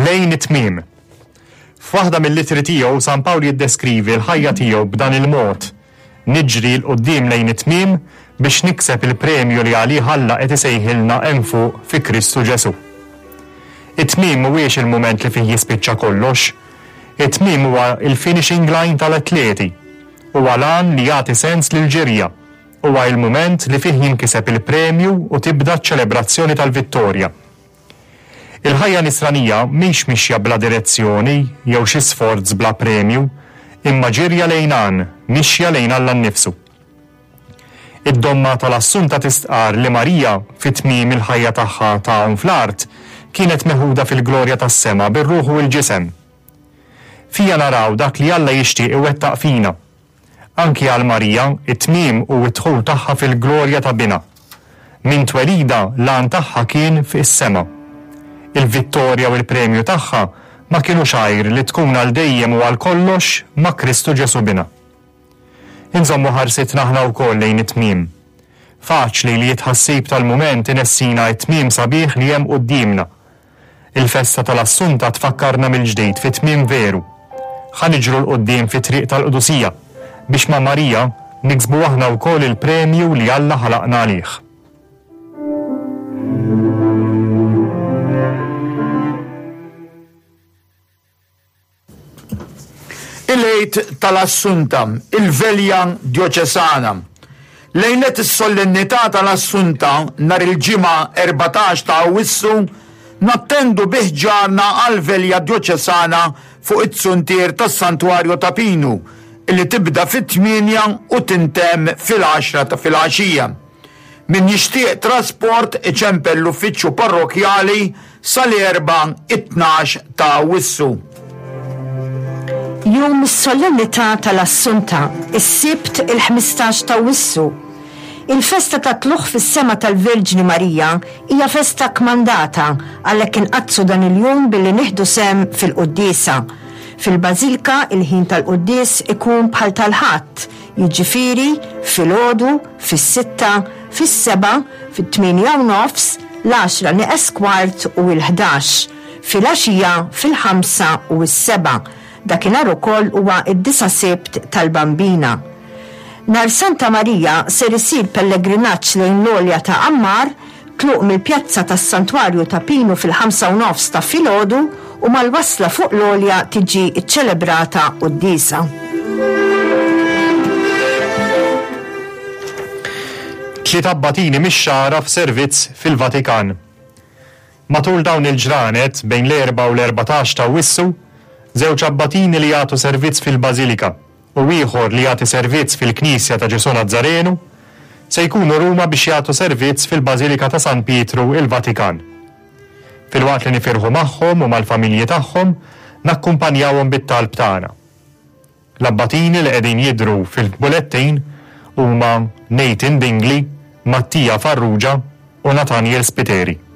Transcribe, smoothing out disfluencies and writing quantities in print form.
Lejn it-tmiem. F'waħda mill-ittri tiegħu San Pawl jiddeskrivi l-ħajja tiegħu b'dan il-mod, Niġri 'l quddiem lejn it-tmiem biex nikseb il-premju li għalih Alla qed isejħilna hemm fuq fi Kristu Ġesù. It-tmiem mhuwiex il-mument li fih jispiċċa kollox. It-tmiem huwa l-finishing line tal-atleti. Huwa l-għan li jagħti sens lill-ġirja. Huwa il-mument li fih jinkiseb il-premju u tibda ċ-ċelebrazzjoni tal-vittorja. Il-ħajja Nisranija mhix mixja bla direzzjoni jew xi sforz bla premju, imma ġirja lejn għan, mixja lejn Alla nnifsu. Id-domma tal-Assunta tistqarr li Marija, fi tmiem il-ħajja tagħha ta' hawn fl-art, kienet meħuda fil-glorja tas-sema bir-ruħ u l-ġisem. Fija naraw dak li Alla jixtieq iwettaq fina. Anki għal Marija, it-tmiem hu d-dħul tagħha fil-glorja ta' Binha. Minn twelidha, l-għan tagħha kien fis-sema. Il-vittorja u l-premju tagħha ma kinux għajr li tkun għal dejjem u għal kollox ma' Kristu Ġesù Binha. Inżommu ħarsitna aħna wkoll lejn it-tmiem. Faċli li t-tħassib tal-mument inessina t-tmiem sabiħ li hemm quddiemna. Il-festa tal-Assunta tfakkarna mill-ġdid fit-tmiem veru. Ħa niġru 'l quddiem fit-triq tal-qdusija biex ma' Marija niksbu aħna wkoll il-premju li Alla ħalaqna għalih. Il-Għid tal-Assunta, il-Velja Djoċesana. Lejlet is-Solennità tal-Assunta, nhar il-Ġimgħa 14 ta' Awwissu, nattendu bi ħġarna għall-Velja Djoċesana fuq iz-zuntier tas-Santwarju ta' Pinu, li tibda fit-tmienja u tintemm fil-għaxra ta' filgħaxija. Min jixtieq trasport iċempel l-uffiċċju parrokkjali sal-Erbgħa it-12 ta' Awwissu. Jum is-Solennità tal-Assunta, is-Sibt il-15 t'Awwissu. Il-festa tat-Tlugħ fis-Sema tal-Verġni Marija hija festa kmandata, għalhekk inqaddsu dan il-jum billi nieħdu sehem fil-quddiesa. Fil-Bażilka il-ħin tal-quddies ikun bħal tal-Ħadd, jiġifieri filgħodu, fis-sitta, fis-sebgħa, fit-tmienja u nofs, l-għaxra nieqes kwart u l-ħdax, filgħaxija fil-ħamsa u s-sebgħa. Dakinhar ukoll huwa d-disa' Sibt tal-Bambina. Nhar Santa Marija ser isir pellegrinaġġ lejn l-għolja ta' Għammar, Tluq mill-pjazza tas-Santwarju ta' Pinu fil-ħamsa u nofs ta' filgħodu u mal-wasla fuq l-għolja tiġi ċċelebrata quddiesa. Tliet abbatini mix-Xagħra f'servizz fil-Vatikan. Matul dawn il-ġranet, bejn l-Erbgħa u l-14 t'Awwissu, żewġ abbatini li jagħtu servizz fil-Bażilika, u ieħor li jagħti servizz fil-Knisja ta' Ġesù Nazzarenu, se jkunu Ruma biex jagħtu servizz fil-Bażilika ta' San Pietru, il-Vatikan. Filwaqt li nifirħu magħhom u mal-familji tagħhom, nakkumpanjawhom bit-talb tagħna. L-abbatini li qegħdin jidhru fil-bulettin huma Nathan Dingli, Mattia Farrugia u Nathaniel Spiteri.